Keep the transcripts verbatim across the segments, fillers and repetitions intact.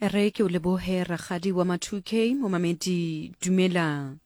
Re ke o lebohe rakgadi wa ma two K momamedi dumela.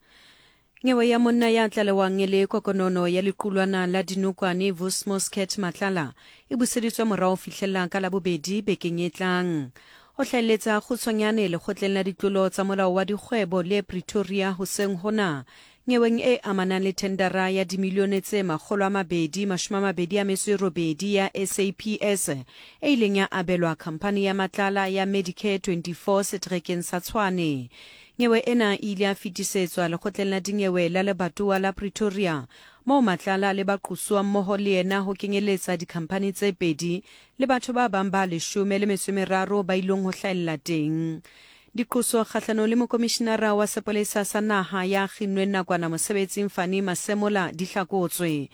Nyewe ya monna ya tlalewang e le kokonono ya lequlwana la dinokwane Vusmos Cat Matlala e buseditswe morao fihlella ka labobedi bekeng e tlang. O hlaeletsa kgutshwanyane lekgotleng la ditlolo tsa molao wa dikgwebo le Pretoria hoseng hona. Nyeweng e amanang le thendara ya dimilione tse makgolo a mabedi mashome a mabedi a metso e robedi ya S A P S e ileng ya abelwa khamphani ya Matlala ya Medicare twenty-four seterekeng sa Tshwane. Nyewe ena e ile ya fetisetswa lekgotleng la dinyewe la lebatowa la Pretoria moo Matlala le baqosuwa mmoho le yena ho kenyeletsa dikhamphani tse pedi le batho ba bang ba leshome le metso e meraro ba ileng ho hlahella teng. Diqoso kgahlano le mokomishinara wa sepolesa sa naha ya kginnweng nakwana mosebetsing Fani Masemola di hlakotswe.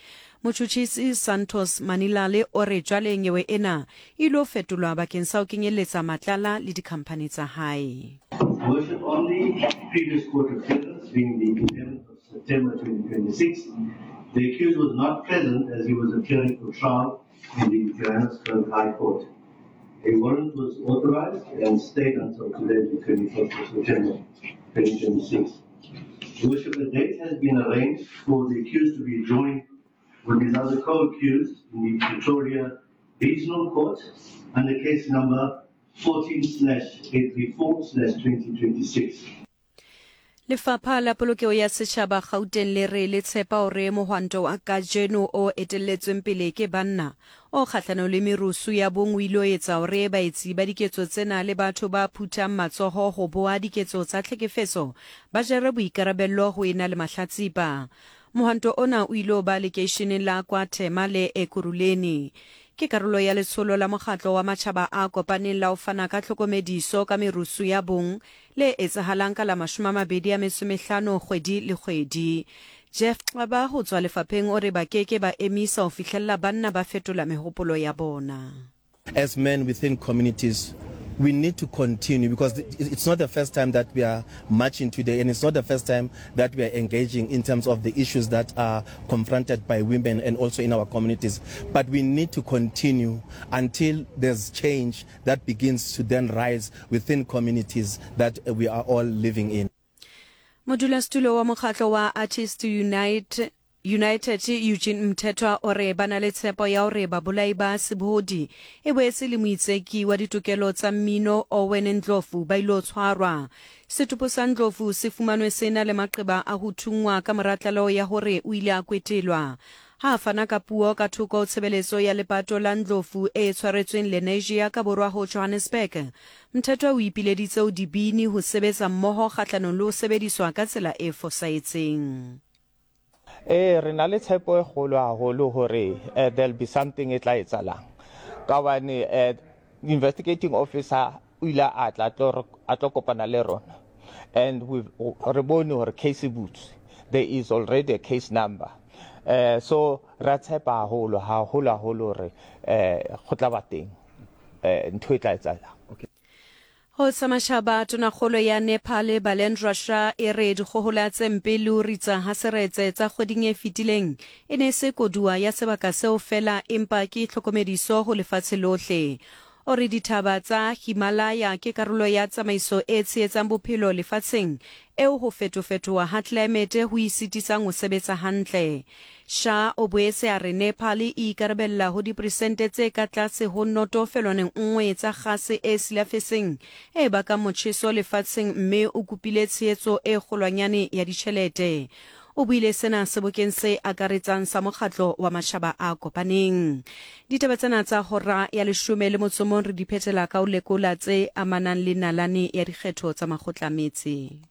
Motjhutjhisi Santos Manilale o re jwale nyewe ena e ilo fetolwa bakeng sa ho kenyeletsa Matlala le dikhamphani tsa hae. Worship, on the previous court appearance being the eleventh of September twenty twenty-six, the accused was not present as he was appearing for trial in the Johannesburg High Court. A warrant was authorized and stayed until today, the twenty-first of September twenty twenty-six. Worship, a date has been arranged for the accused to be joined with his other co-accused in the Pretoria Regional Court under case number fourteen slash eight three four slash twenty twenty-six. Lefapha la Polokeo ya Setjhaba Gauteng le re le tshepa hore mohwanto wa kajeno o etelletsweng pele ke banna o kgahlano le merusu ya bong o ile ho etsa hore baetsi ba diketso tsena le batho ba phuthang matsoho ho boha diketso tsa tlhekefetso ba jere boikarabello ho ena le mahlatsipa. Mohwanto ona o ile ho ba lekeisheneng la kwa Thema le Ekurhuleni. Ke karolo ya letsholo la mokgatlo wa matjhaba a kopaneng la ho fana ka tlhokomediso ka merusu ya bong le etsahalang ka la mashome a mabedi a metso e mehlano kgwedi le kgwedi. Jeff Xaba ho tswa lefapheng o re ba keke ba emisa ho fihlella banna ba fetola mehopolo ya bona. As men within communities, we need to continue because it's not the first time that we are marching today, and it's not the first time that we are engaging in terms of the issues that are confronted by women and also in our communities. But we need to continue until there's change that begins to then rise within communities that we are all living in. Modulasetulo wa mokgatlo wa Artist Unite United Eugene Mthethwa o re ba na le tshepo ya hore babolai ba sebohodi e boetse le moitseki wa ditokelo tsa mmino Owen Ndlovu ba ilo tshwarwa. Setopo sa Ndlovu se fumanwe sena le maqeba a ho thunngwa ka mora tlaleho ya hore o ile a kwetelwa. Ha a fana ka puo ka thoko ho tshebeletso ya lepato la Ndlovu e tshwaretsweng Lenasia ka borwa ho Johannesburg, Mthethwa o ipileditse ho dibini ho sebetsa mmoho kgahlanong le ho sebediswa ka tsela e fosahetseng. Eh, re na le tshepo e kgolo haholo hore there'll be something e tla etsahalang. Ka hobane eh investigating officer o ile a tla a tlo kopana le rona, and we re bone hore case e butswe. There is already a case number. Eh so ra tshepa haholo haholo haholo hore eh go tla ba teng eh ntho e tla etsahalang. Okay. Ho tsa matjhaba, tonakgolo ya Nepal Balendra Shah e re dikgohola tse mpe le ho ritsa ha seretse tsa kgweding e fetileng e ne se koduwa ya sebaka seo fela empa ke tlhokomediso ho lefatshe lohle. O re dithaba tsa Himalaya ke karolo ya tsamaiso e tshehetsang bophelo lefatsheng eo ho fetofetoha ha tlelaemete ho e sitisang ho sebetsa hantle. Shah o boetse a re Nepal e ikarabella ho diperesente tse ka tlase ho noto felwaneng nngwe tsa kgase e silafetseng e bakang motjheso lefatsheng mme o kopile tshehetso e kgolwanyane ya ditjhelete. O buile sena sebokeng se akaretsang sa mokgatlo wa matjhaba a kopaneng. Ditaba tsena tsa hora ya leshome le motso mong re di phethela ka ho lekola tse amanang le nalane ya dikgetho tsa makgotla metse.